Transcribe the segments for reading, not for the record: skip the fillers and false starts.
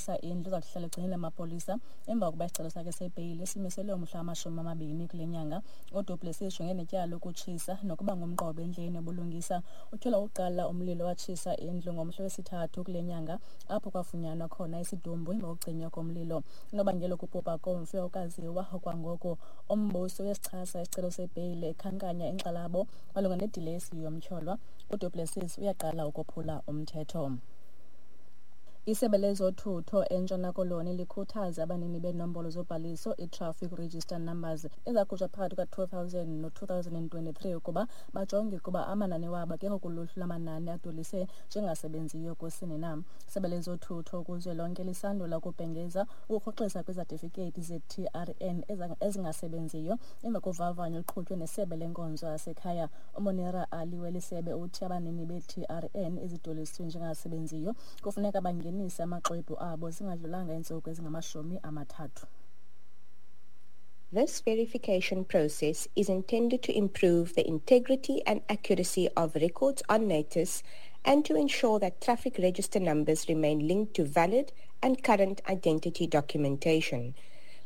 ngokutshisa indlu uza kuhlala egcinile amapolisa emva kokuba isicelo sakhe sebheyile simiselwe umhla wama-20 kule nyanga. UDu Plessis ujongene netyala lokutshisa nokuba ngumqobo endleleni yobulungisa. Utyholwa ukuqala umlilo watshisa indlu ngomhla wesithathu kule nyanga, apho kwafunyanwa khona isidumbu emva kokucinywa komlilo. Unobangela wokubhubha komfi awukaziwa okwangoku. Umbuso uyasichasa isicelo sebheyile, ekhankanya inkxalabo malunga nedilesi yomtyholwa. UDu Plessis uyaqala ukophula umthetho. Isebe lezothutho eNtshona Koloni likhuthaza abanini beenombolo zobhaliso, i-traffic register numbers, ezakhutshwa phakathi kuka-2000 no-2023 ukuba bajonge ukuba amanani wabo akekho kuluhlu lwamanani adwelise njengasebenziyo kusini na. Isebe lezothutho kuzwelonke lisandula ukubhengeza ukurhoxisa kwizatifikethi ze-TRN ezingasebenziyo emva kovavanyo oluqhutywe nesebe lenkonzo yasekhaya. UMonira Ali weli sebe uthi abanini be-TRN ezidweliswe njengasebenziyo kufuneka bangenise amaxwebhu abo zingadlulanga iintsuku ezingama-30. This verification process is intended to improve the integrity and accuracy of records on NaTIS and to ensure that traffic register numbers remain linked to valid and current identity documentation.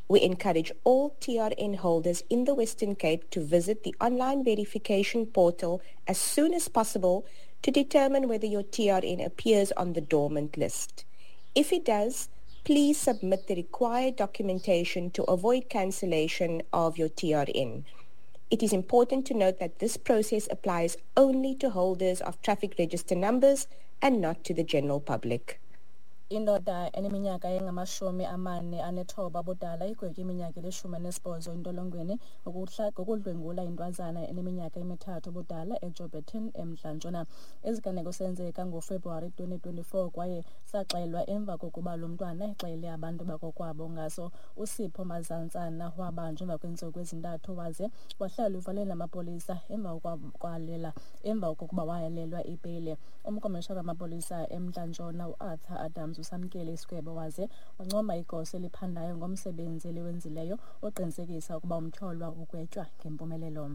We encourage all TRN holders in the Western Cape to visit the online verification portal as soon as possible to determine whether your TRN appears on the dormant list. If it does, please submit the required documentation to avoid cancellation of your TRN. It is important to note that this process applies only to holders of traffic register numbers and not to the general public. Indoda eneminyaka engama-49 ubudala igwetywe iminyaka eli-18 entolongweni ngokudlwengula intwazana eneminyaka emi-3 ubudala eJouberton, eMntla-Ntshona. Iziganeko senzeka ngoFebruwari 2024 kwaye saxelwa emva kokuba lo mntwana exelele abantu bakokwabo ngaso. USipho Mazantsana wabanjwa emva kweentsuku ezintathu waze wahlala evalelweni lamapolisa emva kokuba wayalelwa ibheyile. Umkomishana wamapolisa eMntla-Ntshona uArthur Adams usamkele isigwebo waze wancoma igosa eliphandayo ngomsebenzi eliwenzileyo oqinisekisa ukuba umtyholwa ugwetywa ngempumelelo.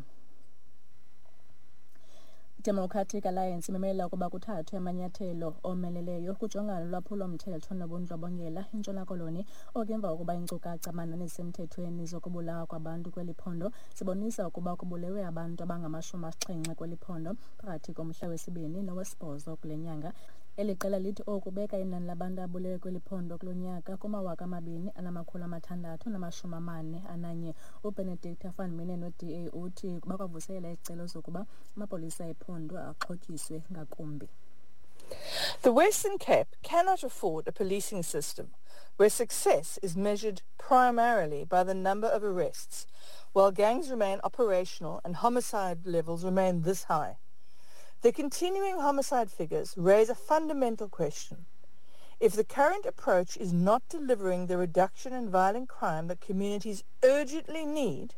IDemocratic Alliance imemela ukuba kuthathwe amanyathelo omeleleyo kujongana nolwaphulo-mthetho nobundlobongela eNtshona Koloni, oko emva kokuba iinkcukacha manani ezisemthethweni zokubulawa kwabantu kweli phondo zibonisa ukuba kubulewe abantu abangama-70 kweli phondo phakathi komhla wesibini nowesibhozo kule nyanga. Eli qela lithi oku kubeka inani labantu ababulewe kweli phondo kulo nyaka kuma-2641. UBenedicta van Minnen we-DA uthi bakwavuselela isicelo sokuba amapolisa ephondo axhotyiswe ngakumbi. The Western Cape cannot afford a policing system where success is measured primarily by the number of arrests, while gangs remain operational and homicide levels remain this high. The continuing homicide figures raise a fundamental question. If the current approach is not delivering the reduction in violent crime that communities urgently need,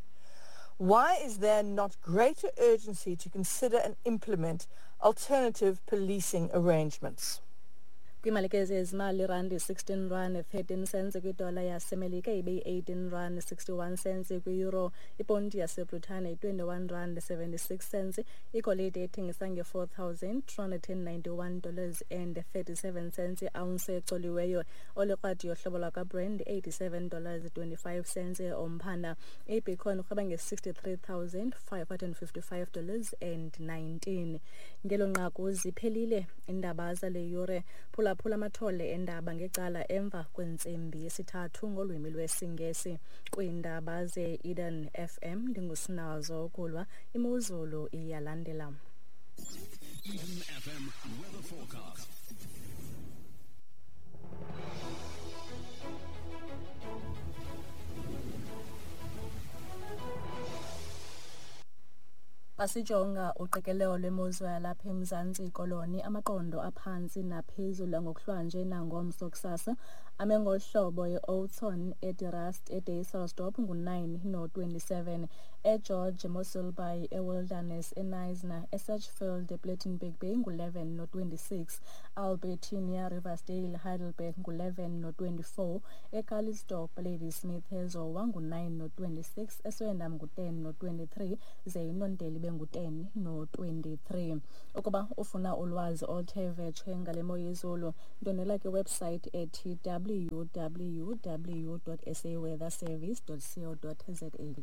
why is there not greater urgency to consider and implement alternative policing arrangements? Kwiimalike zezimali, irandi 16 rand 13 cents kwidola yaseMelika, ibe yi-18 rand 61 cents kwi-euro. Iponti yaseBritane yi-21 rand 76 cents. Igolide ethengisa nge-$4,291 and 37 cents i-ounce ecoliweyo. Olikrwadi yohlobo lwakwaBrand $87 25 cents omphanda. Ibitcoin urhweba nge-$63,555 and 19. Ngelo nqaku ziphelile iindaba zale yure. Phulaphula amathole endaba ngecala emva kwentsimbi yesithathu ngolwimi lwesiNgesi. Kwiindaba ze-Eden FM, ndinguSinazo Kulwa. Imozulu iyalandela. Eden FM weather forecast. Xa sijonga uqikelelo lwemozulu yalapha eMzantsi Koloni, amaqondo aphantsi naphezulu ngokuhlwanje nangomso kusasa ame ngolu hlobo: e-Oudtshoorn, eDe-Rust, eDysselsdorp ngu-9 no-27, eGeorge, eMossel Bay, eWilderness, eKnysna, eSedgefield, ePlettenberg Bay ngu-11 no-26, Albertinia, Riversdale, Heidelberg ngu-11 no-24, eCalitzdorp, Ladysmith, eZowa ngu-9 no-26, eSwellendam ngu-10 no-23, ze iNonteli ibe ibe ngu-10 no-23. Ukuba ufuna ulwazi oluthe vetshe ngale mo yezulu, ndwendwela kwiwebsayithi ethi www.saweatherservice.co.za.